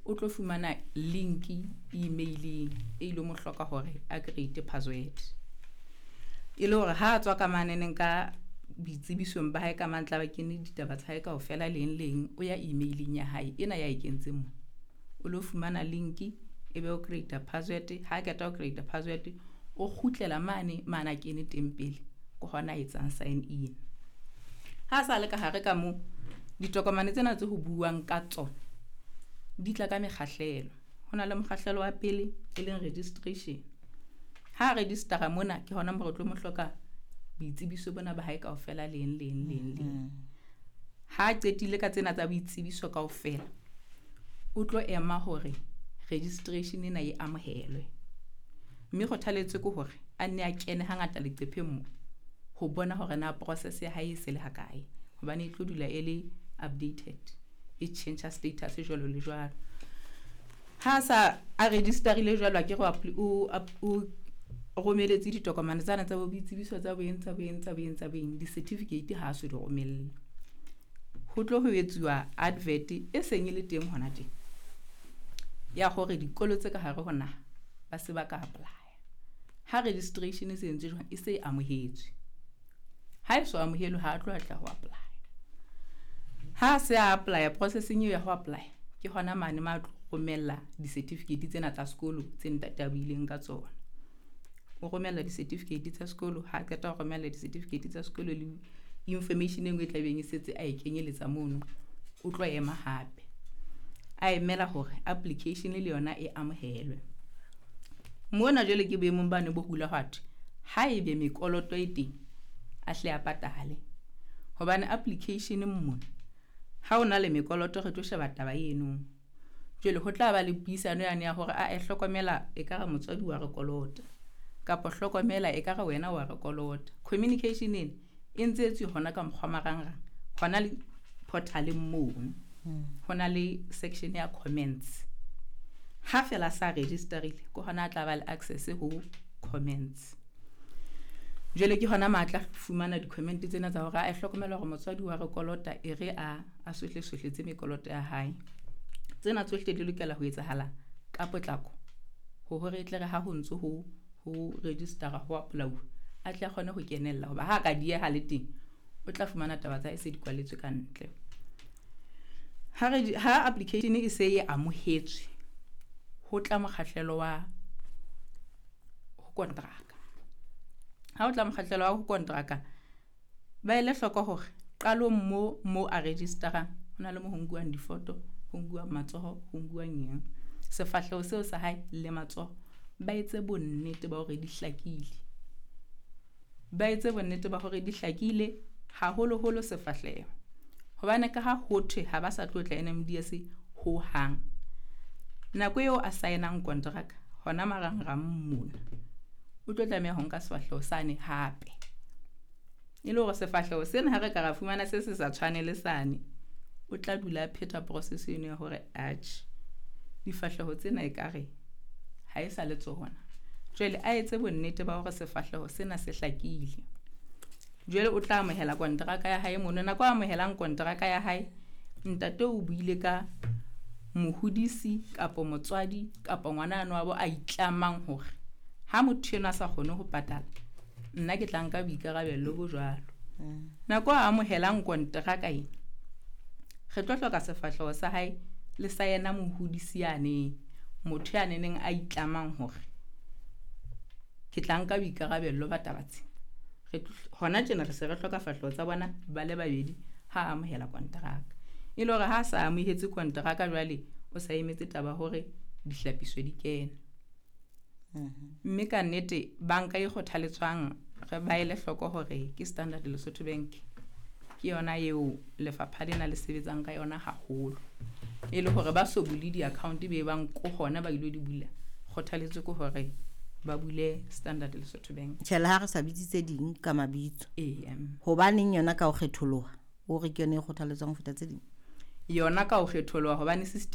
O tlo fumana link emaileng e ilo mo hloka hore a create password, e le hore ha a tswa ka maneneng ka boitsebisong ba hae ka mantla ba kene ditaba tsa hae kaofela leng leng, o ya emaileng ya hae ena ya e kentseng mo, o lo fumana link, e be o create password. Ha qeta ho create password, o kgutlela mane mane a kene teng pele, ke hona a etsang sign in. Ha sa le ka hare ka mo, ditokomane tsena tse ho buuwang ka tsona di tla ka mekgahlelo. Ho na le mokgahlelo wa pele, e leng registration. Ha registera mona, ke hona mo re tlo mo hloka boitsebiso bona ba hae kaofela leng leng leng leng. Ha qetile ka tsena tsa boitsebiso kaofela, o tlo ema hore registration ena e amohelwe, mme kgothaletso ke hore a nne a kene hangata leqepheng mo ho bona hore na process ya hae e se le hakae, hobane e tlo dula e le updated, e change status jwalo le jwalo. Ha sa a registerile jwalo, a ke re o romeletse ditokomane tsana tsa bo boitsebiso, tsa boeng, tsa boeng, tsa boeng, tsa boeng, di-certificate ha a so di romelle, ho tlo ho etsuwa advert e seng e le teng hona teng ya hore dikolo tse ka hare ho naha ba se ba ka apply. Ha registration e se entse jwang, e se e amohetswe. Ha e so amohelwe, ha a tlo atla ho apply. Ha se a apply, processing eo ya ho apply ke hona mane ma tlo romella di-certificate tsena tsa sekolo tse ntate a buileng ka tsona. O romella di-certificate tsa sekolo. Ha qeta ho romella di-certificate tsa sekolo le information e nngwe e tlabeng e setse a e kenyeletsa mono, o tlo ema hape a emela hore application le yona e amohelwe. Mona jwale ke boemong bane bo hula hwathwe ha ebe mekoloto e teng, a hle a patale, hobane application mona ha o na le mekoloto, re tlo sheba taba eno. Jwale ho tla ba le puisano yane ya hore a e hlokomela, ekare motswadi wa re kolota, kapa hlokomela ekare wena wa re kolota. Communication ena e ntse etswe hona ka mokgwa marangrang, hona le portaleng mono ho na le section ya comments. Ha fela sa registerile, ke hona a tla ba le access ho comments. Jwale ke hona matla fumana di-comment tsena tsa hore a hlokomela hore motswadi wa re kolota, e re a sohle sohle tse mekoloto ya hae. Tsena tsohle di lokela ho etsahala ka potlako ho hore e tle re ha ho ntso ho registera, ho apply-uwa, a tle a kgone ho kenella, hoba ha ka dieha le teng, o tla fumana taba tsa hae se di kwaletswe ka ntle. Ha application e se e amohetswe, ho tla mokgahlelo wa ho kontraka. Ha o tla mokgahlelo wa ho kontraka, ba ele hloko hore qalong mo a registerang, ho na le mo ho nkuwang difoto, ho nkuwang matsoho, ho nkuwang eng, sefahleho seo sa hae le matsoho, ba etse bonnete ba hore di hlakile, ba etse bonnete ba hore di hlakile, haholoholo sefahleho, hobane ka ha ho thwe ha ba sa tlo tla NMDS ho hang. Nako eo a saenang kontraka hona marangrang mona, o tlo tlameha ho nka sefahleho sane hape, e le hore sefahleho sena ha re ka ra fumana se se sa tshwane le sane, o tla dula a pheta process eno ya hore atjhe, difahleho tsena ekare ha e sa le tsona. Jwale a etse bonnete ba hore sefahleho sena se hlakile. Jwale o tla amohela kontraka ya hae mono. Nako a amohelang kontraka ya hae, ntate o buile ka mohodisi kapa motswadi kapa ngwana ano wa bo a itlamang hore ha motho enwa a sa kgone ho patala, nna ke tla nka boikarabello bo jwalo. Nako a amohelang kontraka ena, re tlo hloka sefahleho sa hae le sa yena mohodisi yane, motho ya neneng a itlamang hore ke tla nka boikarabello ba taba tse. Hona tjena re se re hloka fahleho tsa bona ba le babedi ha a amohela kontraka, e le hore ha a sa amohetse kontraka, jwale o sa emetse taba hore dihlapiso di kene. Mme ka nnete banka e kgothaletswang re ba ele hloko hore ke Standard Lesotho Bank, ke yona eo lefapha lena le sebetsang ka yona haholo, e le hore ba so bule di-account be bang ko hona ba ilo di bula, kgothaletso ke hore ba bule Standard Lesotho Bank. Tjhela, ha re sa bitse tse ding ka mabitso, ee. Hobaneng yona ka ho kgetholoha, o re ke yona e kgothaletswang ho feta tse ding? Yona ka ho kgetholoha hobane system